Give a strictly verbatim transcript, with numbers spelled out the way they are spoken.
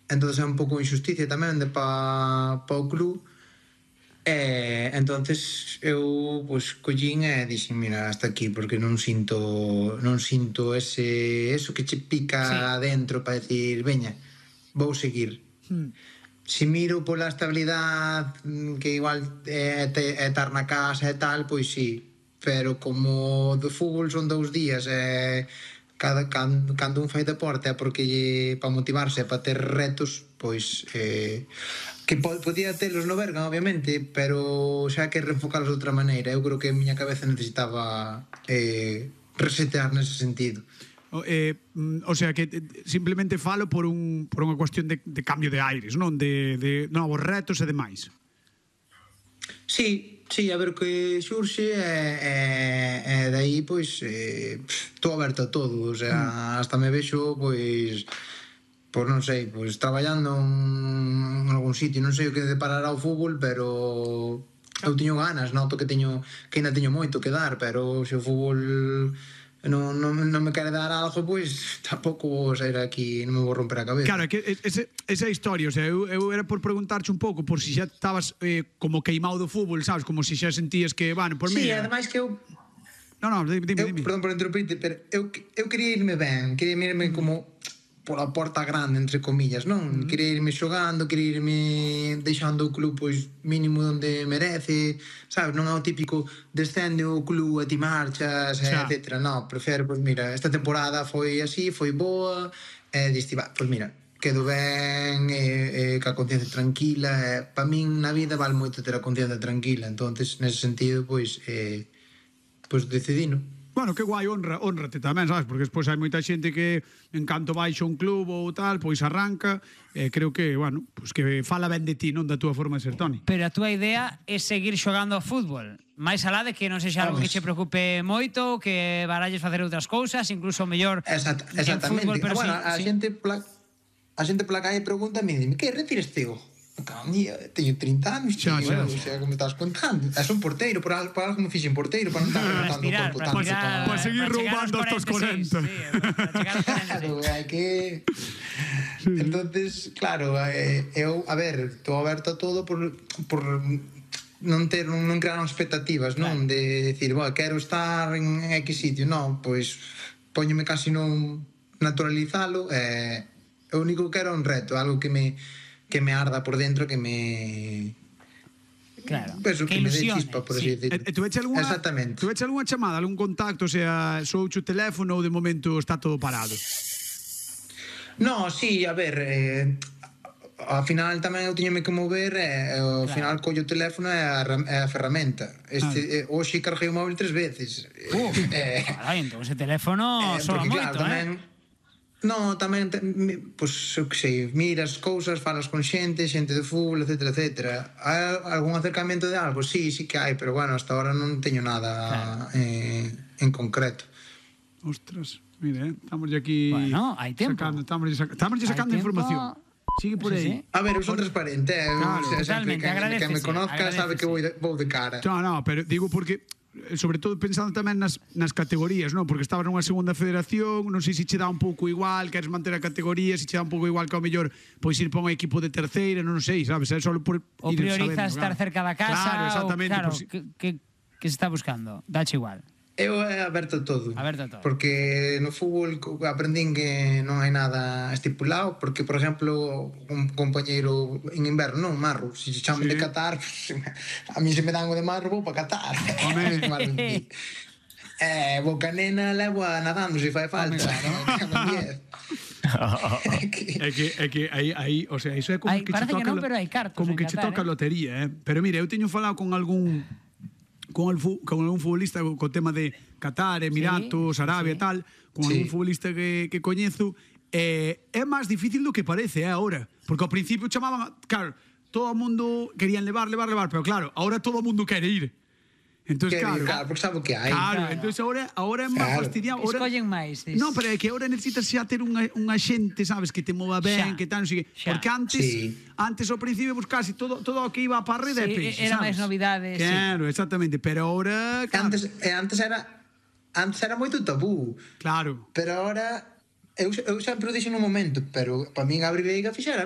entón é un pouco injusticia tamén de pa, pa o club. E entonces eu pois collín e dixen, mira, hasta aquí, porque non sinto non sinto ese eso que che pica Sí. dentro para decir, veña, vou seguir. Mm. Se miro pola estabilidade que igual é, é estar na casa e tal, pois sí, pero como do fútbol son dous días e cada cando, cando un fai deporte é porque lle, para motivarse, para ter retos, pois eh, que podía telos no Berga, obviamente, pero xa que reenfocalos de outra maneira. Eu creo que a miña cabeza necesitaba eh, resetear nese sentido. O, eh, o sea que simplemente falo por un por unha cuestión de, de cambio de aires, non? De, de novos retos e demais. Sí, sí, a ver o que xurxe e, e, e dai, pois, eh, estou aberto a todo, o sea, mm. hasta me vexo, pois, pois non sei, pois traballando en algún sitio, non sei o que deparará o fútbol, pero eu teño ganas, noto que teño que ainda teño moito que dar, pero se o fútbol non, non, non me quere dar algo, pois tampouco vou sair aquí, non me vou romper a cabeza. Claro, é que ese, esa historia, o sea, eu, eu era por preguntarche un pouco por si xa estabas eh, como queimado do fútbol, sabes, como si xa sentías que, bueno, por sí, mí... Sí, ademais que eu... No, no, dime, eu, dime. Perdón por interrumpirte, pero eu, eu quería irme ben, quería irme como pola porta grande, entre comillas, non? Mm. Quería irme xogando, quería irme deixando o club pois mínimo onde merece, sabes? Non é o típico descende o club e ti marchas, xa, etcétera. Non, prefiro, pois mira, esta temporada foi así, foi boa, e diste, va, pois mira, quedo ben, e, e ca conciencia tranquila, e pa min na vida vale moito ter a conciencia tranquila, entonces nese sentido, pois, eh, pois decidino. Bueno, que guai, honra, honrate tamén, sabes? Porque despois hai moita xente que en canto baixa un club ou tal, pois arranca, e eh, creo que, bueno, pois que fala ben de ti, non da túa forma de ser, Toni. Pero a túa idea é seguir xogando a fútbol, máis alá de que non sexa algo que che preocupe moito, que baralles facer outras cousas, incluso mellor Exact, en fútbol, pero ah, bueno, sí, a sí. xente pla, a xente pola calle pregunta e dime, que retires teo? Teño trinta anos, tío, xa, xa, o sea, como estás contando. És un porteiro, por algo, por algo me fixen porteiro, para non estar contando o corpo tanto. Para pa seguir roubando hasta os cuarenta. Sí, claro, hai que... Sí. Entonces, claro, eh, eu, a ver, estou aberto a todo por... por non ter non crear expectativas, non? Claro. De decir, bueno, quero estar en X sitio, non, pois póñome casi non naturalizalo, e eh, o único que quero é un reto, algo que me que me arda por dentro, que me... Claro, pues, que, que me dé chispa, por así sí. decirlo. E, e tu veche algunha, exactamente. Tu veche algunha chamada, algún contacto, o sea, souche o teléfono ou de momento está todo parado? No, sí, a ver, eh, ao final tamén eu tiñame que mover e ao claro. final collo o teléfono e a, a ferramenta. Este, ah. eh, hoxe carguei o móvil tres veces. Uh, eh, carai, entón ese teléfono eh, soa moito, claro, tamén, eh? No, tamén, pois, eu que sei, miras cousas, falas con xente, xente de fútbol, etcétera, etcétera. Hai algún acercamento de algo? Sí, sí que hai, pero bueno, hasta ahora non teño nada claro. eh, en concreto. Ostras, mire, eh, estamos aquí... Bueno, hai tempo. Sacando, estamos sac estamos sacando información. Sigue por aí. Sí, sí. A ver, eu son transparente, eh? Claro, o sea, totalmente, que, que me conozca sabe que vou de, vou de cara. No, no, pero digo porque... sobre todo pensando tamén nas, nas categorías, non? Porque estabas nunha segunda federación, non sei se che dá un pouco igual, queres manter a categoría, se che dá un pouco igual que ao mellor pois ir para un equipo de terceira, non sei, sabes? É só por o priorizas estar claro. cerca da casa, claro, exactamente, ou, claro, si... que, que, que se está buscando, dache igual. Eu é aberto a todo. Aberto a todo. Porque no fútbol aprendín que non hai nada estipulado, porque, por exemplo, un compañeiro en inverno, non, marro, se se chaman sí. de Qatar, a mí se me dan o de marro, vou para Qatar. eh, boca nena, levo a nadando, se fai falta. é que é que aí, aí, o sea, iso é como ay, que che toca, que non, pero hai cartos como que che toca a lotería, eh? Pero mire, eu teño falado con algún con, el, con algún futbolista co tema de Qatar, Emiratos, sí, Arabia e sí. tal, con sí. algún futbolista que, que coñezo, eh, é máis difícil do que parece, eh, agora. Porque ao principio chamaban, claro, todo o mundo querían levar, levar, levar, pero claro, agora todo o mundo quere ir. Entonces, claro, claro, porque sabe o que hai. Claro, claro. Entonces ahora, ahora é máis claro. fastidiado. Ahora, escollen máis. Non, pero é que ahora necesitas xa ter unha, unha xente, sabes, que te mova ben, xa. que tal, non sei que. Porque antes, sí. antes ao principio, pues casi todo, todo o que iba a parreda sí, é peixe, era sabes? máis novidades. Claro, sí. exactamente, pero ahora... Claro. Antes, eh, antes era antes era moito tabú. Claro. Pero ahora... Eu, eu sempre o dixo no momento, pero para min a Abril Veiga fixera